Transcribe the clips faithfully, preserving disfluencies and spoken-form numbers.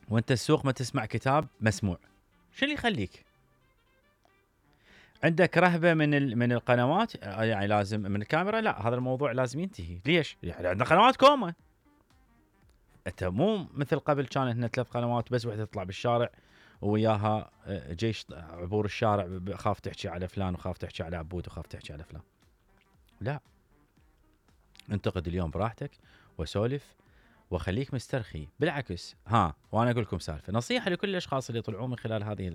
وانت السوق ما تسمع كتاب مسموع، شو اللي يخليك؟ عندك رهبه من من القنوات، يعني لازم من الكاميرا، لا هذا الموضوع لازم ينتهي. ليش؟ يعني عندنا قنوات كومه. انت مو مثل قبل كان عندنا ثلاث قنوات بس، وحده تطلع بالشارع وياها جيش عبور الشارع، خاف تحكي على فلان وخاف تحكي على عبود وخاف تحكي على فلان. لا، انتقد اليوم براحتك وسولف وخليك مسترخي. بالعكس، ها وانا اقول لكم سالفه نصيحه لكل الاشخاص اللي يطلعون من خلال هذه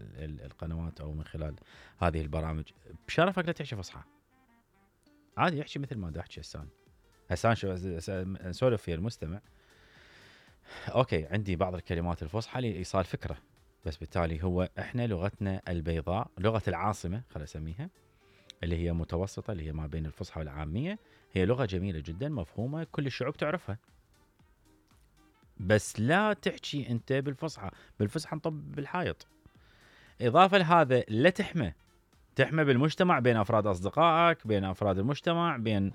القنوات او من خلال هذه البرامج، بشرفك لا تحكي فصحى. عادي احكي مثل ما دا احكي هسه. هسه نسولف في المستمع، اوكي عندي بعض الكلمات الفصحى لايصال فكره، بس بالتالي هو احنا لغتنا البيضاء، لغه العاصمه خلينا اسميها، اللي هي متوسطه، اللي هي ما بين الفصحى والعاميه، هي لغه جميله جدا مفهومه كل الشعوب تعرفها. بس لا تحكي انت بالفصحى، بالفصحى نطب بالحائط. اضافه لهذا لا تحمى، تحمى بالمجتمع، بين افراد اصدقائك، بين افراد المجتمع، بين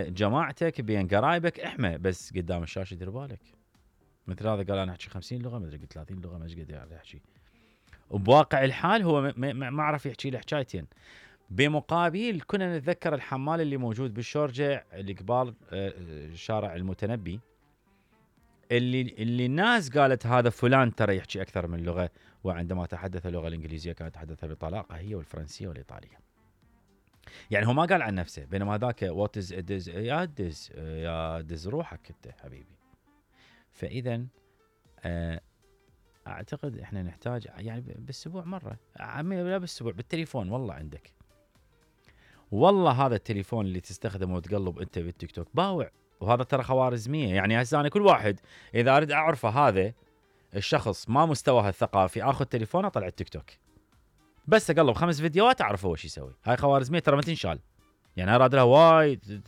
جماعتك، بين قرايبك، احمى. بس قدام الشاشه دير بالك. مثل هذا قال انا احكي خمسين لغه، ما ادري قلت ثلاثين لغه، ما ايش قد يحكي. وبواقع الحال هو ما عرف يحكي له حكايتين. بمقابل كنا نتذكر الحمال اللي موجود بالشورجه اللي قبال شارع المتنبي، اللي اللي الناس قالت هذا فلان ترى يحكي اكثر من لغه، وعندما تحدث اللغه الانجليزيه كانت تحدثها بطلاقه، هي والفرنسيه والايطاليه. يعني هو ما قال عن نفسه، بينما هذاك وات از ادز يا دز يا دز روحك انت حبيبي. فاذا اعتقد احنا نحتاج يعني بالاسبوع مره، لا بالاسبوع بالتليفون، والله عندك والله هذا التليفون اللي تستخدمه وتقلب انت بالتيك توك باوع، وهذا ترى خوارزميه. يعني هسه انا كل واحد اذا اريد اعرفه هذا الشخص ما مستواه الثقافي، اخذ تليفونه اطلع التيك توك بس اقلب خمس فيديوهات اعرف هو شو يسوي. هاي خوارزميه ترى ما تنشال، يعني اراد لها وايد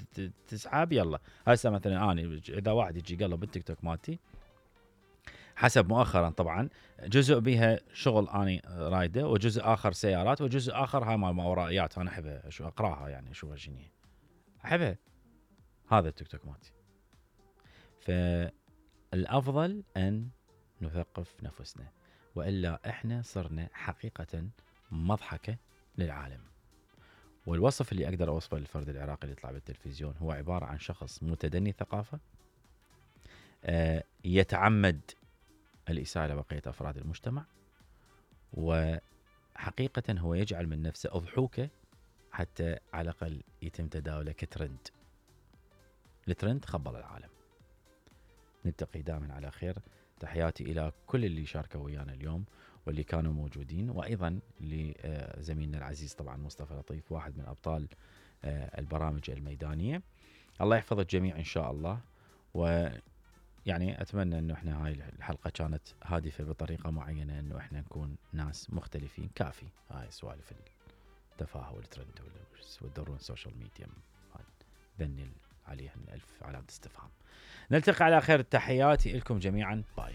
تسحب. يلا هسه مثلا انا اذا واحد يجي يقلب بالتيك توك مالتي، حسب مؤخرا طبعا جزء بها شغل اني رايده، وجزء اخر سيارات، وجزء اخر هاي مال ماورائيات انا احبها شو اقراها، يعني اشوفها شنو احبها. هذا التيك توك مالتي. فالافضل ان نثقف نفسنا، والا احنا صرنا حقيقه مضحكه للعالم. والوصف اللي اقدر اوصفه للفرد العراقي اللي يطلع بالتلفزيون هو عباره عن شخص متدني ثقافه، آه يتعمد الإساءة لبقية أفراد المجتمع، وحقيقة هو يجعل من نفسه أضحوكة حتى على الأقل يتم تداوله كترند. الترند خبل العالم. نلتقي دائما على خير. تحياتي إلى كل اللي شاركوا ويانا اليوم واللي كانوا موجودين، وأيضا لزميلنا العزيز طبعا مصطفى لطيف، واحد من أبطال البرامج الميدانية. الله يحفظ الجميع إن شاء الله. و يعني أتمنى أنه إحنا هاي الحلقة كانت هادفة بطريقة معينة، أنه إحنا نكون ناس مختلفين. كافي هاي سوالف التفاهة والترند والدورون السوشيال ميديا بني عليها ألف علامة استفهام. نلتقي على خير. تحياتي لكم جميعا. باي.